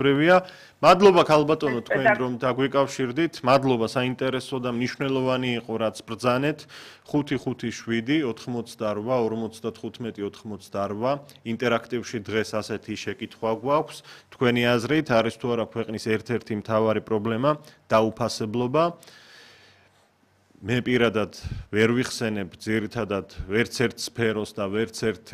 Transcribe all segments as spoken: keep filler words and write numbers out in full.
პრევია მადლობა ქალბატონო თქვენ რომ დაგვიკავშირდით მადლობა საინტერესო და მნიშვნელოვანი იყო რაც ბრძანეთ ხუთი ხუთი შვიდი ოთხმოცდაორვა ორმოცდათხუთმეტი ოთხმოცდაორვა ინტერაქტივში დღეს ასეთი შეკითხვა გვაქვს თქვენი აზრით არის თუ არა ქვეყნის ერთ-ერთი მთავარი პრობლემა დაუფასებლობა მე პირადად ვერ ვიხსენებ ძირითადად ვერც ერთ სფეროს და ვერც ერთ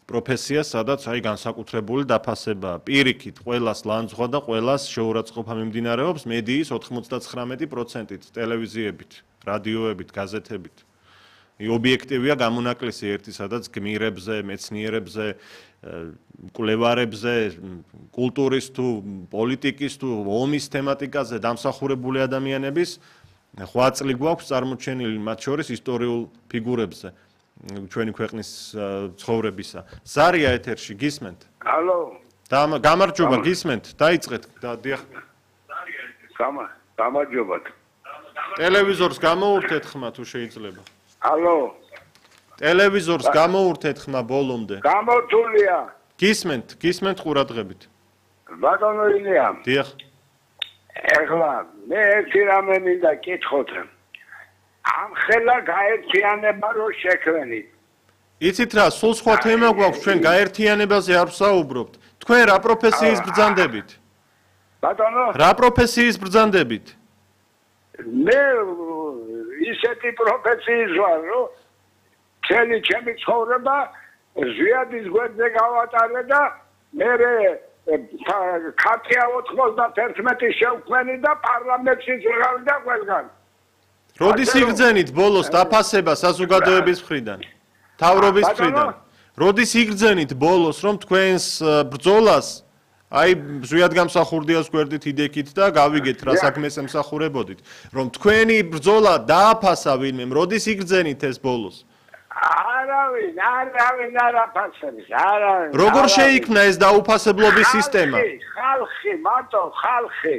პროფესიას, სადაც აი განსაკუთრებული დაფასება პირიქით ყველას ლანძღვა და ყველას შეურაცხყოფა მიმდინარეობს მედიის ოთხმოცდაცხრამეტი პროცენტით, ტელევიზიებით, რადიოებით, გაზეთებით. ობიექტივია გამონაკლისი ერთი, სადაც გმირებზე, მეცნიერებზე, მკვლევარებზე, კულტურის თუ პოლიტიკის თუ ომის თემატიკაზე დამსახურებული ადამიანების ხვაწლი გვაქვს წარმოჩენილი მათ შორის ისტორიულ ფიგურებზე. ჩვენი ქვეყნის ცხოვრებისა. ზარია ეთერში გისმენთ? ალო. გამარჯობა, გისმენთ? დაიწყეთ და დიახ. გამა, გამარჯობათ. ტელევიზორს გამოურთეთ ხმა თუ შეიძლება. ალო. ტელევიზორს გამოურთეთ ხმა ბოლომდე. გამორთულია. გისმენთ, გისმენთ ყურადღებით. ბატონო ილია. დიახ. ეხლა მე ერთი რამე მინდა კითხოთ. ამ ხელა გაერთიანება რო შექმნით. იცით რა, სულ სხვა თემა გვაქვს, ჩვენ გაერთიანებაზე არ ვსაუბრობთ. თქვენ რა პროფესიის ბრძანდებით? ბატონო? რა პროფესიის ბრძანდებით? მე ისეთი პროფესიის ვარ, რომ მთელი ჩემი ცხოვრება ზვიადის გვერდზე გავატარე და მე ქართია ოთხმოცდათერთმეტი შევქმნი და პარლამენტში ვიყავი და ყველგან. როდის იგრძენით ბოლოს დაფასება საზოგადოების მხრიდან? თავრობის მხრიდან. როდის იგრძენით ბოლოს რომ თქვენს ბრძოლას აი ზვიად გამსახურდიას გვერდით იდექით და გავიგეთ რა საქმეს ემსახურებოდით. რომ თქვენი ბრძოლა დააფასა ვინმე, როდის იგრძენით ეს ბოლოს? არავინ, არავინ არ აფასებს, არავინ. როგორ შეიქმნა ეს დაუფასებლობის სისტემა? ხალხი, მარტო ხალხი.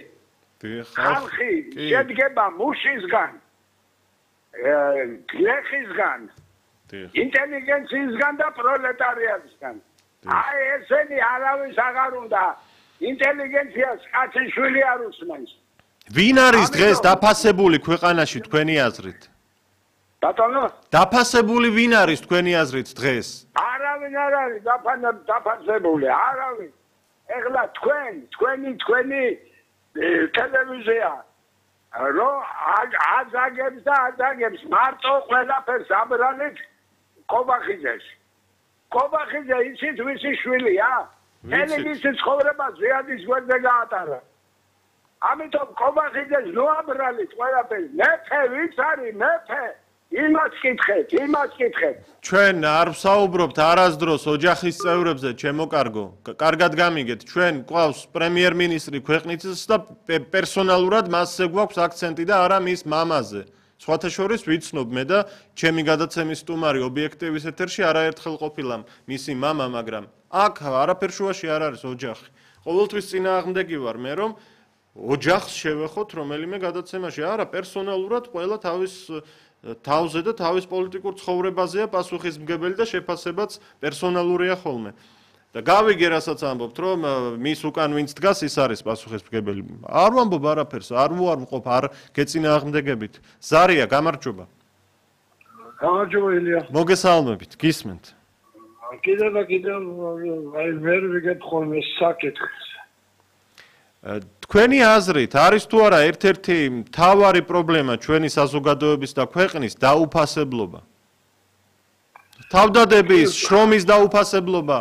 ხალხი შედგება მუშისგან. გლეხისგან, ინტელიგენციისგან და პროლეტარიატისგან. აი ესენი არავის აღარ უნდა ინტელიგენციას კაცი შვილი არ უსმენს. ვინ არის დღეს დაფასებული ქვეყანაში თქვენი აზრით? ბატონო? დაფასებული ვინ არის თქვენი აზრით დღეს? არავინ არ არის დაფასებული, არავინ. ეხლა თქვენ, თქვენი, თქვენი ტელევიზია რო აზაგებს და აზაგებს მარტო ყველაფერს აბრალეთ კობახიძეს. კობახიძე იცით ვისი შვილია? მთელი მისი ცხოვრება ზვიადის გვერდზე გაატარა. ამიტომ კობახიძეს ნუ აბრალეთ ყველაფერს. მეფე ვიც არის მეფე? იმას კითხეთ, იმას კითხეთ. ჩვენ არ ვსაუბრობთ არასდროს ოჯახის წევრებზე, ჩემო კარგო. კარგად გამიგეთ, ჩვენ გვყავს პრემიერ-მინისტრი ქვეყნისის და პერსონალურად მასზე გვაქვს აქცენტი და არა მის მამაზე. სხვათა შორის ვიცნობ მე და ჩემი გადაცემის სტუმარი ობიექტივის ეთერში არაერთხელ ყოფილა მისი მამა, მაგრამ აქ არაფერ შუაში არ არის ოჯახი. ყოველთვის წინააღმდეგი ვარ მე რომ ოჯახს შევეხოთ რომელიმე გადაცემაში. არა, პერსონალურად ყველა თავის თავზე და თავის პოლიტიკურ ცხოვრებაზეა პასუხისმგებელი და შეფასებაც პერსონალურია ხოლმე. და გავიგე რასაც ამბობთ, რომ მის უკან ვინც დგას, ის არის პასუხისმგებელი. არ ვამბობ არაფერს, არ ვუარმყოფ, არ გეწინააღმდეგებით. ზარია, გამარჯობა. გამარჯობა ილია. მოგესალმებით, გისმენთ. კიდევ და კიდევ აი ვერ ვიგებხო მე საკითხს. თქვენი აზრით არის თუ არა ერთ-ერთი მთავარი პრობლემა ჩვენი საზოგადოების და ქვეყნის დაუფასებლობა? თავდადების, შრომის დაუფასებლობა?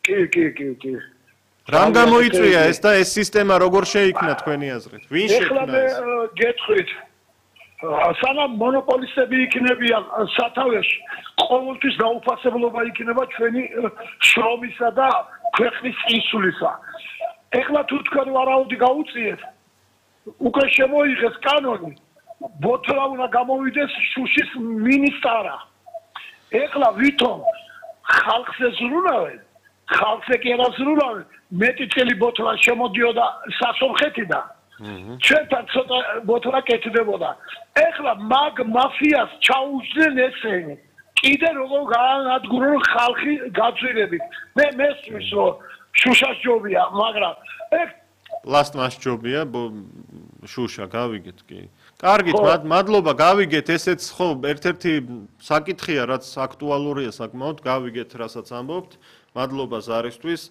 კი, კი, კი, კი. რამ გამოიწვია ეს და ეს სისტემა როგორ შეიქმნა თქვენი აზრით? ვინ შექმნა ეს? ეხლა მე გეტყვით. სანამ მონოპოლისტები იქნებიან სათავეში, ყოველთვის დაუფასებლობა იქნება ჩვენი შრომისა და ქვეყნის წინსვლისა. ეხლა თუ თქვენ ვარაუდი გაუწიეთ, უკვე შემოიღეს კანონი, ბოთლა უნდა გამოვიდეს შუშის მინისტრა. ეხლა ვითომ ხალხზე ზრუნავენ, ხალხზე კი არა ზრუნავენ, მეტი წელი ბოთლა შემოდიოდა სასომხეთიდან. ჩვენთან ცოტა ბოთლა კეთდებოდა. ეხლა მაგ მაფიას ჩაუჯდნენ ესენი. კიდე როგორ გაანადგურონ ხალხი გაძვირებით. მე მესმის რომ შუშას ჯობია, მაგრამ ეგ პლასტმას ჯობია, შუშა გავიგეთ კი. კარგით, მადლობა, გავიგეთ, ესეც ხო ერთ-ერთი საკითხია, რაც აქტუალურია საკმაოდ, გავიგეთ, რასაც ამბობთ. მადლობა ზარისთვის.